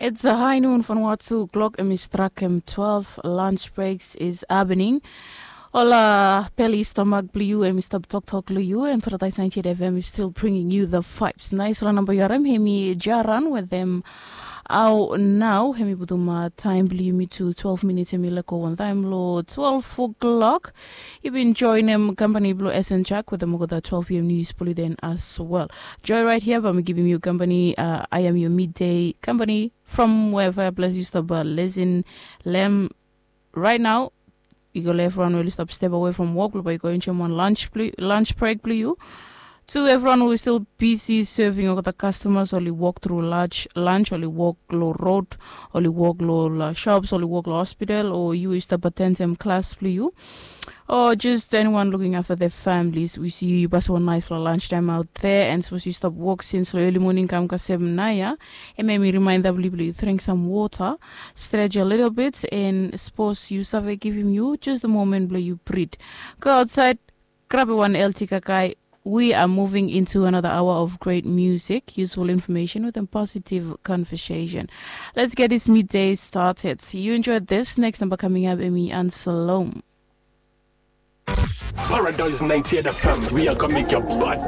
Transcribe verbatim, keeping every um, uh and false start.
It's a high noon from one two o'clock, em i strak em twelve. Lunch breaks is happening. Ol beli stomach blong yu em i stap toktok long yu, and Paradise ninety-eight F M is still bringing you the vibes. Nice la namba yu harim, em i Jaran with them. Au nau, em i putum taem blong yumi tu twelve minutes, em i lego wantaem long twelve o'clock. Yu bin joenem kampani blong S N Jack wetem olgeta twelve P M news blong yuden as well. Joe right here, bae mi givim yu kampani. Uh, I am your midday kampani from wherever ples yu stap, uh, lisin long em right now. I go long evriwan we oli stap step awe from wok blong bae i go enjoem wan lunch, lunch break blong yu. Tu evriwan we stil bisi seving olgeta kastomas, oli wok tru lunch, lunch, oli wok long rod, oli wok long ol shops, oli wok long hospital, o yu i stap atendem klas blong yu, o jes eniwan luking afta de familis, we si yu, yu pasem wan naes long lunch taem aot de, and sapos yu stap wok sins long eli moning kam kasem naoia, em em i rimaenda blong yu blong yu dring sam wota, strej a litil bit, and sapos yu save givim yu jes the moment blong yu brit, go aotsaed, grabem wan elti kakae. We are moving into another hour of great music, useful information with a positive conversation. Let's get this midday started. You enjoyed this. Next number coming up, Emi Ansalom. Paradise ninety-eight F M, we are gonna make your body